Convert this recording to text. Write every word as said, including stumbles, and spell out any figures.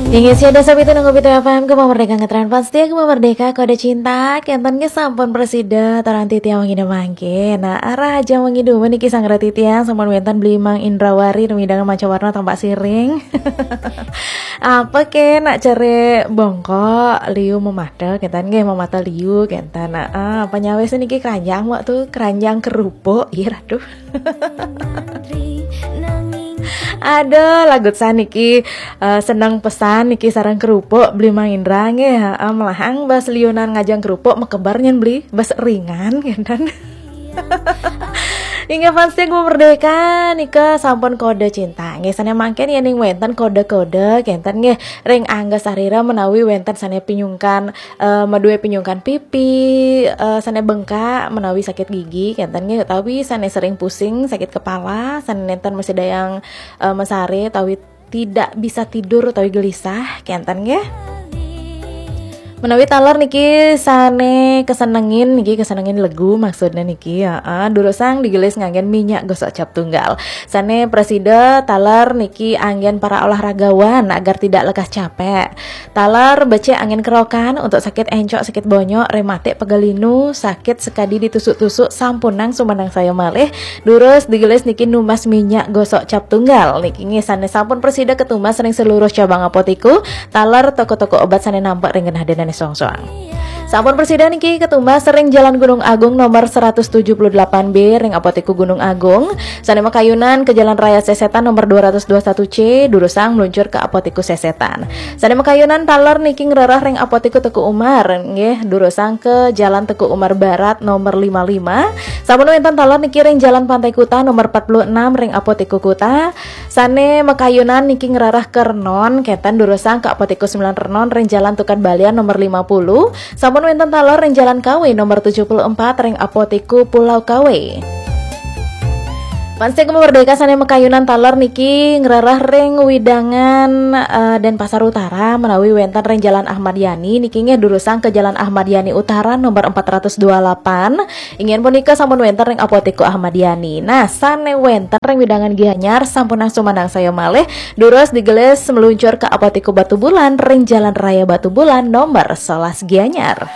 Inggih, sia dasa pitu nang pitu F M, Gema Merdeka ngetren fans setia Gema Merdeka, Kode Cinta, kenten nggih sampun prasida, taran titiang wengi mangke. Nah, arah aja wengi dua niki sang titiang, sampun wenten Beli Mang Indrawari, rumidangan manca warna tampak siring. Apa ke nak cere bongkok, liu memata, kenten nggih memata liu, kenten. Nah, ah, apa nyawis niki keranjang waktu, keranjang kerupuk, iya aduh. Ada lagu saniki, eh, seneng pesan niki sarang kerupuk Beli Mang Indra nggih, heeh, melahang bas liunan ngajang kerupuk mekebar nyen Beli bas ringan kenten. Inggih fans setia Gema Merdeka nika sampun kode cinta. Nggih sane mangken yening wenten kode-kode kenten nggih ring angga sarira menawi wenten sane pinyungkan, eh, madue pinyungkan pipi, eh, sane bengkak menawi sakit gigi kenten nggih utawi sane sering pusing, sakit kepala, sane nenten masih dayang, eh, mesare utawi tidak bisa tidur utawi gelisah kenten nggih. Menawi taler niki sane kesenengin niki kesenengin legu maksudnya niki ya, durusang digelis nganggen minyak gosok cap tunggal. Sane prasida taler niki anggen para olahragawan agar tidak lekas capek. Taler becik anggen kerokan untuk sakit encok, sakit bonyok, rematik, pegal linu, sakit sekadi ditusuk-tusuk, sampunang sumanang saya malih. Durus digelis niki numbas minyak gosok cap tunggal. Niki nggih sane sampun prasida ketumbas ring seluruh cabang apotiku, taler toko-toko obat sane nampek ring genah denane soang-soang. Sampun prasida niki ketumbas ring Jalan Gunung Agung nomor seratus tujuh puluh delapan B ring Apotiku Gunung Agung. Sane makayunan ke Jalan Raya Sesetan nomor dua ratus dua satu C, durusang meluncur ke Apotiku Sesetan. Sane makayunan taler niki ngrereh ring Apotiku Teuku Umar, nggih, durusang ke Jalan Teuku Umar Barat nomor lima lima. Sampun wenten taler niki ring Jalan Pantai Kuta nomor empat puluh enam ring Apotiku Kuta. Sane makayunan niki ngrereh ke Renon, kenten durusang ke Apotiku sembilan Renon ring Jalan Tukad Balian nomor lima puluh. Sampun wenten taler ring Jalan Kawe nomor tujuh puluh empat ring Apotiku Pulau Kawe. Fans setia Gema Merdeka sane makayunan taler niki ngrereh ring wewidangan, eh, Denpasar Utara menawi wenten ring Jalan Ahmad Yani niki nggih durusang ke Jalan Ahmad Yani Utara nomor empat ratus dua lapan. Inggih punika sampun wenten ring Apotiku Ahmad Yani. Nah, sane wenten ring wewidangan Gianyar sampunang sumanang saya malih, durus digelis meluncur ke Apotiku Batubulan ring Jalan Raya Batubulan nomor sebelas Gianyar.